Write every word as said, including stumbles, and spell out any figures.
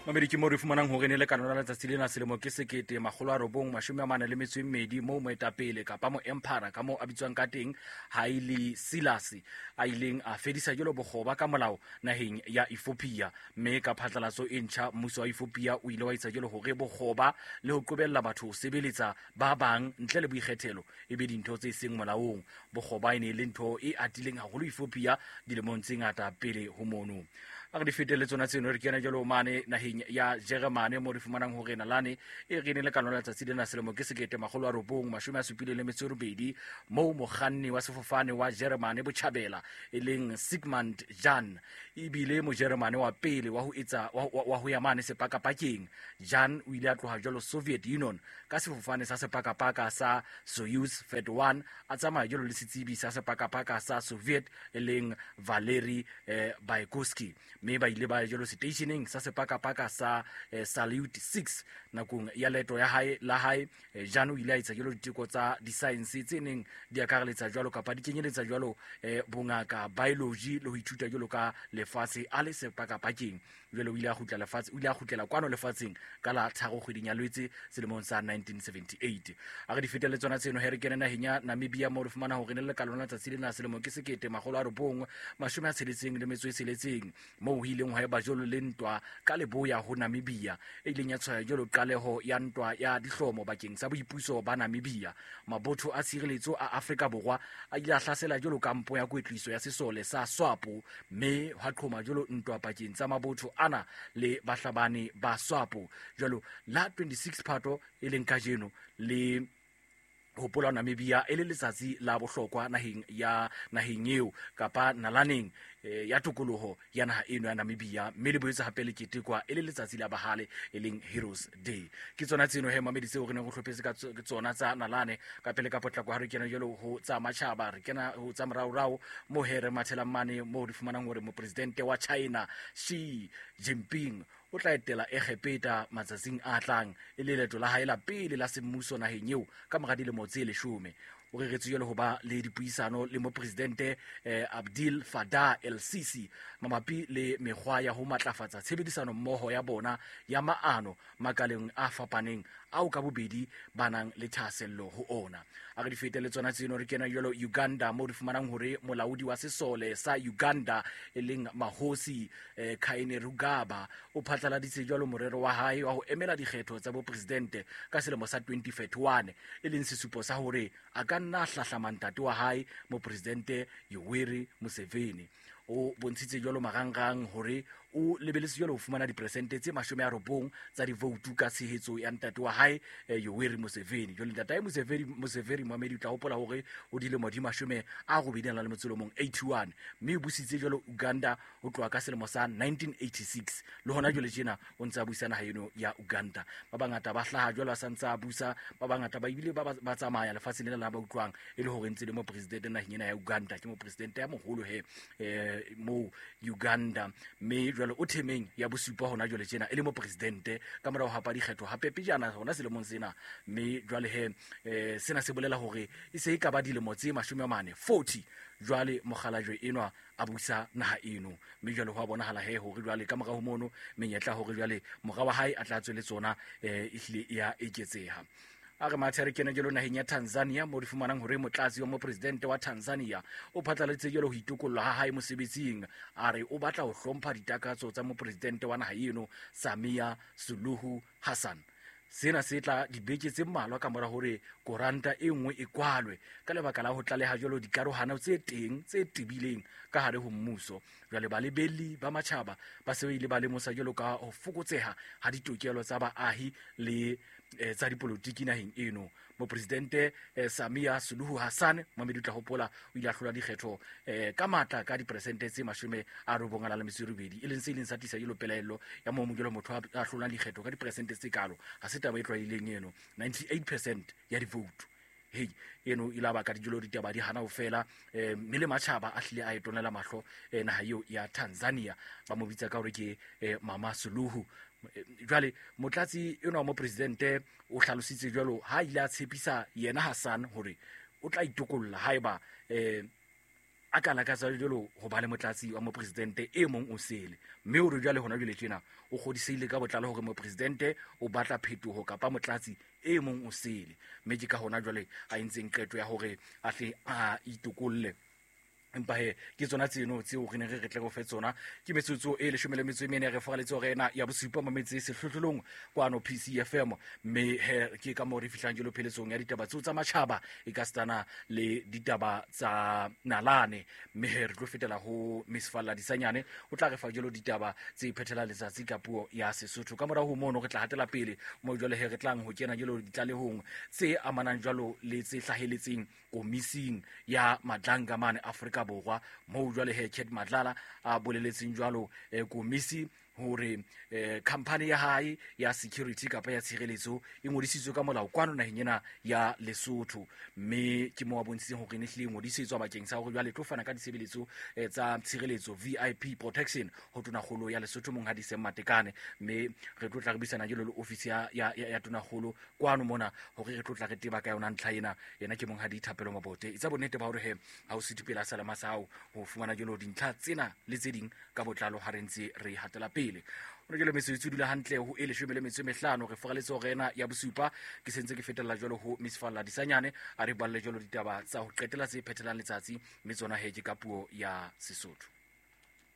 Mamedi ke mo re fumanang hore ne le ka lona letsatsi lena selemo ke sekete makgolo a robong mashome a mane le metso e mmedi moo moetapele kapa moemphara ka moo a bitswang ka teng Haile Selassie a ileng a fedisa jalo bokgoba ka molao naheng ya Ethiopia. Mme ka phatlalatso e ntjha mmuso wa Ethiopia o ile wa etsa jalo hore bokgoba le ho qobella batho ho sebeletsa ba bang ntle le boikgethelo e be dintho tse seng molaong. Bokgoba e ne e le ntho e atileng haholo Ethiopia dilemong tse ngata pele ho mono. A re di fetele tsona tseno re kena jalo mane naheng ya Jeremane mo re fumanang hore nalane e re ne le ka lona letsatsi lena selemo ke sekete makgolo a robong mashome a supileng le metso e robedi moo mokganni wa sefofane wa Jeremane botjhabela e leng Sigmund Jahn ebile mojeremane wa pele wa ho etsa wa, wa, wa ho ya mane sepakapakeng. Jahn o ile a tloha jalo Soviet Union ka sefofane sa sepakapaka sa Soyuz thirty-one a tsamaya jalo le setsebi sa sepakapaka sa Soviet e leng Valery eh, Bykovsky, mme ba ile ba ya jalo seteisheneng sa sepakapaka sa eh, Salyut six. Nakong ya leeto ya hae la hae eh, Jahn o ile a etsa jalo diteko tsa disaense tse neng di akareletsa jwalo kapa di kenyeletsa jwalo eh, bongaka, biology le ho ithuta jwalo ka lefatshe a le sepakapakeng. Jwale o ile a kgutla lefatshe, o ile a kgutlela kwano lefatsheng ka la tharo kgweding ya Lwetse selemong sa nineteen seventy-eight. A re di fetele tsona tseno he re kene naheng ya Namibia mo re fumana hore ne le ka lona letsatsi lena selemo ke sekete makgolo a robong mashome a tsheletseng le metso e tsheletseng moo ho ileng hwa eba jwalo le ntwa ka leboya ho Namibia e ileng ya tshwaya jwalo qaleho ya ntwa ya dihlomo bakeng sa boipuso ba Namibia. Mabotho a tshireletso a Afrika Borwa a ile a hlasela jwalo kampo ya kwetliso ya sesole sa SWAPO mme hwa qhoma jwalo ntwa pakeng tsa mabotho ana le bahlabani ba SWAPO. Jwalo la twenty-six Phato e leng kajeno le hopola Namibia e le letsatsi la bohlokwa naheng ya naheng eo kapa nalaneng eh, ya tokoloho ya naha eno ya Namibia, mme le boetse hape le ketekwa e le letsatsi la bahale e leng Heroes Day. Ke tsona tseno he mamedi tseo re neng re hlophetse ka tso-, tsona tsa nalane. Ka pele ka potlako ha re kena jwalo ho tsa matjhaba, re kena ho tsa moraorao mo he re mathelang mane moo re fumanang hore mopresidente wa China Xi Jinping o tla etela Egepeta matsatsing a tlang e le leeto la hae la pele la semmuso naheng eo ka mora dilemo tse leshome. O reretswe jwalo ho ba le dipuisano le mopresidente eh, Abdel Fattah el-Sisi mabapi le mekgwa ya ho matlafatsa tshebedisano mmoho ya bona ya maano makaleng a fapaneng ao ka bobedi ba nang le thahasello ho ona. A re di fete le tsona tseno re kena jwalo Uganda mo re fumanang hore molaodi wa sesole sa Uganda e leng Mahosi eh, Kainerugaba o phatlaladitse jwalo morero wa hae wa ho emela dikgetho tsa bopresidente ka selemo sa twenty thirty-one e leng sesupo sa hore a ka nna a hlahlama ntate wa hae mopresidente Yoweri Museveni. O bontshitse jwalo marangrang hore o lebeletse jwalo ho fumana diperesente tse mashome a robong tsa divoutu ka tshehetso ya ntate wa hae, eh, Yoweri Museveni. Jwale ntate hae Museveni, Museveni Mohamedi o tla hopola hore o dilemo di mashome a robedi a nang le metso e mong, eighty-one, mme o busitse jwalo Uganda ho tloha ka selemo sa nineteen eighty-six. Le hona jwale tjena o ntse a busa naha eno ya Uganda. Ba bangata ba hlaha jwalo a sa ntse a busa, ba bangata ba ebile ba, ba, ba tsamaya lefatsheng lena la ba utlwang e le hore ntse le mopresidente naheng ena ya Uganda. Ke mopresidente ya moholo he, eh, moo Uganda, mme jwale o themeng ya bosupa hona jwale tjena e le mopresidente ka morao ho hapa dikgetho hape pejana hona selemong sena. Mme jwale he, eh, sena se bolela hore e se e ka ba dilemo tse mashome a mane, forty, jwale mokgalajwe enwa a busa naha eno. Mme jwale ho a bonahala he hore jwale ka morao ho mono menyetla hore jwale mora wa hae a tla tswe le tsona, eh, ehlile e ya eketseha. A re mathe re kene jwalo naheng ya Tanzania mo re fumanang hore motlatsi wa mopresidente wa Tanzania o phatlaladitse jwalo ho itokolla ha hae mosebetsing. A re o batla ho hlompha ditakatso tsa mopresidente wa naha eno Samia Suluhu Hassan. Sena se tla dibeke tse mmalwa ka mora hore koranta e nngwe e kwalwe ka lebaka la ho tlaleha jwalo dikarohano tse teng tse tebileng ka hare ho mmuso. Jwale balebelli ba matjhaba ba se ba ile ba lemosa jwalo ka ho fokotseha ha ditokelo tsa baahi le, eh, tsa dipolotiki naheng eno. Mopresidente, eh, Samia Suluhu Hassan, Mohamedi o tla hopola, o ile a hlola dikgetho, eh, ka matla ka diperesente tse mashome a robong a nang le metso e robedi, e leng se ileng sa tlisa jwalo pelaello ya moo jwalo motho a, a hlolang dikgetho ka diperesente tse kalo. Ha se taba e tlwaelehileng eno, ninety-eight percent ya divoutu. Hei, eno e la baka dijolo ditaba di hana ho fela, eh, mme le matjhaba a hlile a e tonela mahlo, eh, naha eo ya Tanzania. Ba mo bitsa ka hore ke, eh, Mama Suluhu. Eh, jwale motlatsi enwa wa mopresidente o hlalositse jwalo ha ile a tshepisa yena Hassan hore o tla itokolla haeba, eh, a ka lakatsa jalo ho ba le motlatsi wa mopresidente e mong o sele, mme o re jwale hona jwale tjena o kgodisehile ka botlalo hore mopresidente o batla phetoho kapa motlatsi e mong o sele, mme ke ka hona jwale a entseng qeto ya hore a tle a itokolle. Empa he ke tsona tseno tseo re neng re re tle go fe tsona. Ke metsotso e leshome le metso e mene re foraletse hore ena ya bosupa mametse sehlohlolong kwano P C F M, mme he ke ka moo re fihlang jelo pheletsong ya ditaba tseo tsa matjhaba e ka stana le ditaba tsa nalane, mme he re tlo fetela ho Miss Falla Disanyane o tla re fa jelo ditaba tse phethela letsatsi ka puo ya Sesotho. Ka morao ho mono re tla hatela pele mo jwale he re tlang ho kena jelo ditlalehong tse amanang jwalo le tse hlaheletseng komising ya Madlanga mane Afrika Borwa, moo jwale he Cat Madlala a boleletseng jwalo eh, komisi hore eh, company ya hae ya security kapa ya tshireletso e ngodisitswe ka molao kwano naheng ena ya Lesotho, mme ke mo a bontshitseng hore ne hlile e ngodisitswe bakeng sa hore jwale tlo fana ka ditshebeletso eh, tsa tshireletso V I P protection ho tonakgolo ya Lesotho monghadi Sam Matekane, mme re tlo tla re buisana jalo le ofisi ya, ya, ya, ya tonakgolo kwano mona hore re tlo tla re teba ka yona ntlha ena. Yena ke monghadi Thapelo Mabote. Etsa bonnete ba hore he ha o sitwe pela salama sa hao ho fumana jalo dintlha tsena le tse ding ka botlalo ha re ntse re hatela pele. Hona jwale metsotso e dula hantle ho e leshome le metso e mehlano re foraletse hore ena ya bosupa. Ke sentse ke fetella jwalo ho Miss Falla Disanyane a re balle jwalo ditaba tsa ho qetela tse phethelang letsatsi, mme tsona he ke ka puo ya Sesotho.